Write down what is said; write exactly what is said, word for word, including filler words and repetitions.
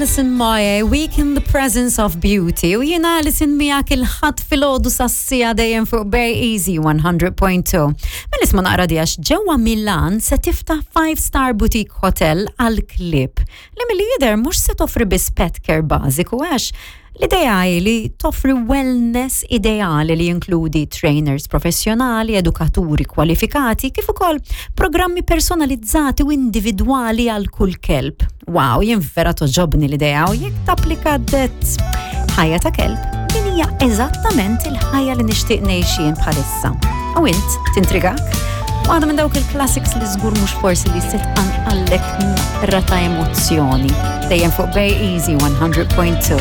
Alison Moyet, Week in the Presence of Beauty. U jiena Alison miegħek il-Ħadd filgħodu sas-siegħa dejjem fuq Bay Easy one hundred point two. Mela isma' naqra di, għax ġewwa Milan se tiftaħ five star boutique hotel għal klieb li milli jidher mhux se toffri biss pet care bażiku, għax l-idea hi li toffri wellness ideali li jinkludi trainers professjonali, edukaturi kwalifikati, kif ukoll programmi personalizzati u individwali għal kull kelb. Wow, jien vera togħġobni l-idea u jekk tapplika det ħajja ta' kelb, din hija eżattament il-ħajja li nixtieq ngħix jien bħalissa. U int, tintrigak? Waħda minn dawk il-classics li żgur mhux forsi li se tqanqallek naqra ta' emozzjoni. Dejjem fuq Bay Easy one hundred point two.